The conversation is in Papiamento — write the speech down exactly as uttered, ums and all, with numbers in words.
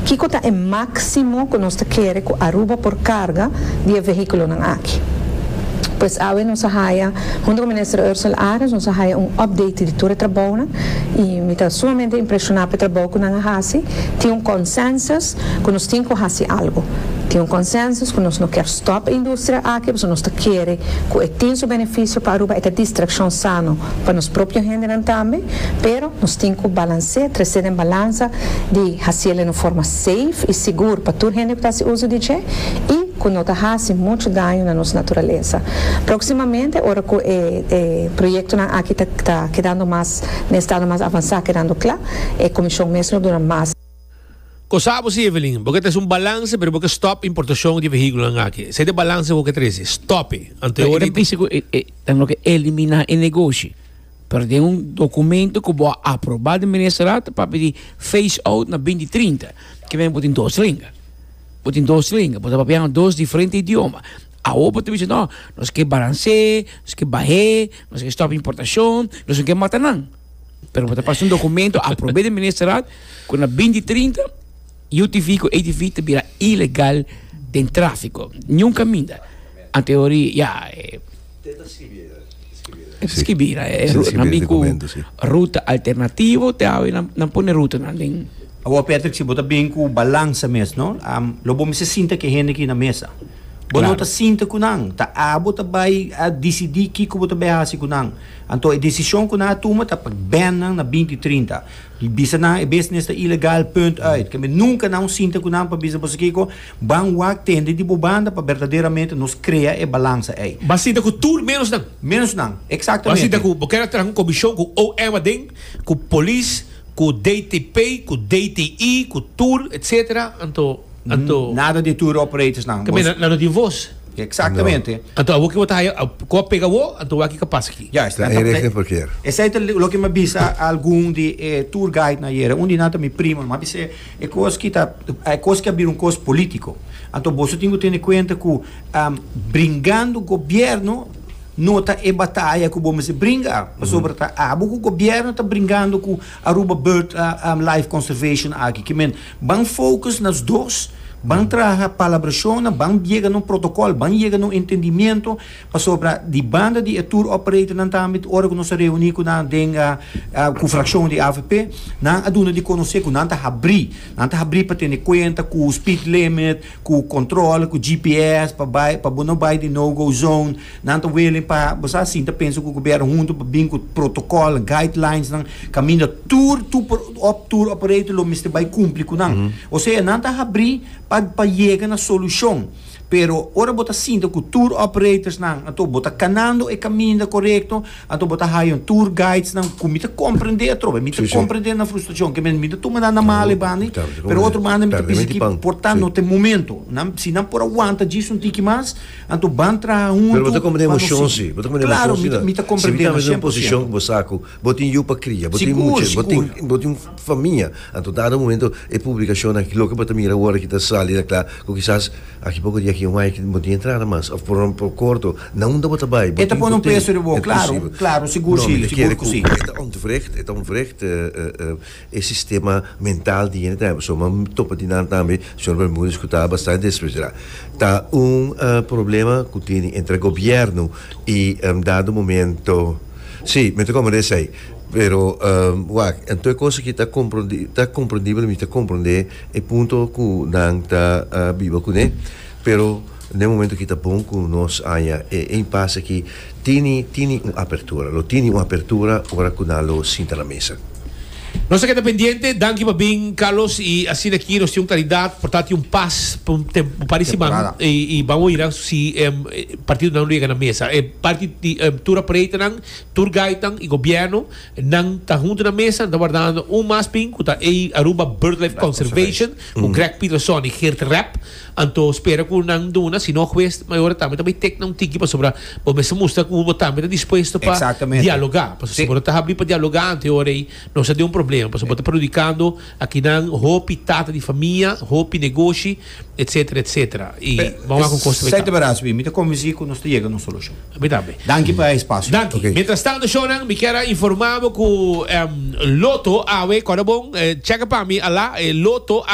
Kiko ta e maximo cu nos ta kere cu Aruba por carga di vehiculonan aki. Pues awe nos a haya, hunto cu Minister Ursell Arends, nos a haya un update di tur e trabounan y mi ta sumamente impresiona pa e trabou cu nan a hasi. Tin un consensus cu nos tin cu hasi algo. Tin un consensus cu nos no kier stop e industria aki, pasobra nos ta kere cu e tin su beneficio pa Aruba, e distraccion sano pa nos propio hendenan tambe, pero nos tin cu balancea, trece den balansa di haci den un forma safe y sigur pa tur hende cu ta usa di dje y cu no ta hasi mucho daño na nos naturalesa. Proximamente, ora cu e, e proyectonan aki ta, ta kedando mas, den estado mas avansa, kedando cla, e comision mes lo duna mas. Cosabo si, Evelyn, pasobra tin un balance, pero pasobra stop importacion di vehiculo aki. Esey ta e balance cu trece, stop. Anto E ta pensa cu tin cu elimina e negoshi. Pero tin un documento cu bo a aproba di ministerraad pa pidi phase out na binti trinta, cu bin tin dos lenga. Tin dos lenga, por papia dos diferente idioma. Awor bo bisa, no, nos kier balancea, nos kier baha, nos kier stop importacion, nos no kier mata nan. Pero bo pasa un documento aproba di ministerraad cu na binti trinta U T V cu A T V ta bira ilegal den trafico. Ningun caminda. En teoria, ja, eh, skirbi, eh, Si, nan bin cu documento, si. Ruta alternativo, te awe nan nan pone ruta nan den. Awor, Patrick, si bo ta bin cu balansa mes, no? Um, lo bo mester sinta cu hende aki na mesa. Bo Claro. no ta sinta cu nan, ta abo ta bay a dicidi kico bo ta bay hasi cu nan. Anto e decision cu nan a tuma ta pa ban nan na binti trinta. Bisa nan e business ta ilegal, punt uit. Cu nunca nan sinta cu nan pa bisa bo kico, ban wak tende di bo banda pa verdaderamente nos crea e balansa ey. Bo a sinta cu tur menos nan. Menos nan, exactamente. Bo a sinta cu, bo kier traha un comision cu O M aden, cu polis, cu D T P, cu D T I, cu tour, et cetera. Anto, anto Nada di tour operators nan. Tambe nan no tin voz. Exactamente. Anto, awor cu bo ta cu pega wo, anto aki capaz aki. Juist. Ta inrichting verkeer. Esey ta loke mi a bisa algun di eh, tour guide na ayera. Un di nan ta mi primo, m'a bisa e cos cu ta e cos cu a bira un cos politico. Anto bo tin cu tene cuenta cu um, bringando gobierno no ta e bataya cu bo mester bringa. Pasobra ta abo cu gobierno ta bringando cu Aruba Bird uh, um, Life Conservation aki. Kiermen ban focus nas dos, ban traha palabracion, ban yega na un protocol, ban yega na un entendimento, pasobra di banda di e tour operator nan tambe, ora cu nos a reuni cu nan den uh, uh, cu fraccion di A V P, nan a duna di conoce cu nan ta habri, nan ta habri pa tene cuenta cu speed limit, cu control, cu G P S, pa bay, pa bo no bay den no-go zone, nan ta willing pa, bo asina, ta pensa cu gobierno hunto pa bin cu protocol, guidelines, nan caminda tour, tour, op, tour operator lo mester bay cumpli cu nan. Osea, nan ta habri pa pa yega na solucion. Pero ora bo ta sinta cu tour operators nan, anto bo ta canando e caminda corecto, anto bo ta haya un tour guides nan, cu mi ta comprende atrobe, mi ta Si, si. comprende nan frustracion, cu mi ta tuma nan na male bani, ta, pero otro banda mi ta Perde pensa cu pan. por ta Si. no tin momento, nan, si nan por aguanta djis un tiki mas, anto ban traha hunto. Pero bo ta comprende pa nos emocion, si. si. Bo ta comprende Claro, emocion, mi, si. mi ta comprende Si mi ta den posicion cien por ciento. cu bo sa cu bo tin yiu pa cria, bo tin Sigur, mucha, bo tin sigur. bo tin famia. Anto, dado momento e publicacion aki loke bo ta mira awor cu ta sali na cla, cu kisas aki poco dia aki un ai bo tin entrada mas of por por corto, na unda bo ta bay. E ta pone un peso riba bo, claro, claro, sigur si, sigur cu si. E ta onterecht, e ta onterecht eh, eh, eh, e sistema mental di hende tambe. So, m'a topa di nan tambe, señor Bermúdez, cu ta bastante desesperado. Ta un eh, problema cu tin entre gobierno y un dado momento. Si, mi ta comprende esey. Pero, um, wak, anto e cos cu ta comprendi, ta comprendibel, mi ta comprende e punto cu nan ta uh, biba cu ne. Pero na momento cu ta bon cu nos haya e impasse aki, tin tin un apertura, lo tin un apertura ora cu nan lo sinta na mesa. Nos ta keda pendiente, danki pa bin, Carlos, y asina aki nos tin un claridad, por tanto un pas pa un tempo pa siman Temporada. y, y ban mira si um, partido nan yega na mesa. E parti di um, tour operator nan, tour guide nan y gobierno nan ta hunto na mesa, ta wardando un mas pin, cu ta e Aruba BirdLife Conservation, cu Greg Peterson y Geert Rapp, anto spera cu nan duna, si no hues, mayor tambe tambe tek nan tiki pasobra, bo mester mustra cu bo tambe ta dispuesto pa Exactamente. dialoga. Pasobra Si. si bo ta habri pa dialoga, anto ora ey no sa di un problema. Problema, pasobra bo ta perhudicando akinan hopi tata di famia, hopi negoshi, et cetera et cetera. Y ban cu costa. Sete braços, mi ta convenci cu nos ta yega na un solucion. Mi tambe. Danki pa e espacio. Danki. Ok. Mientras tanto, shonan, mi kier informa cu um, Lotto awe, ora bon, eh, check pa mi, ala, eh, Lotto awe.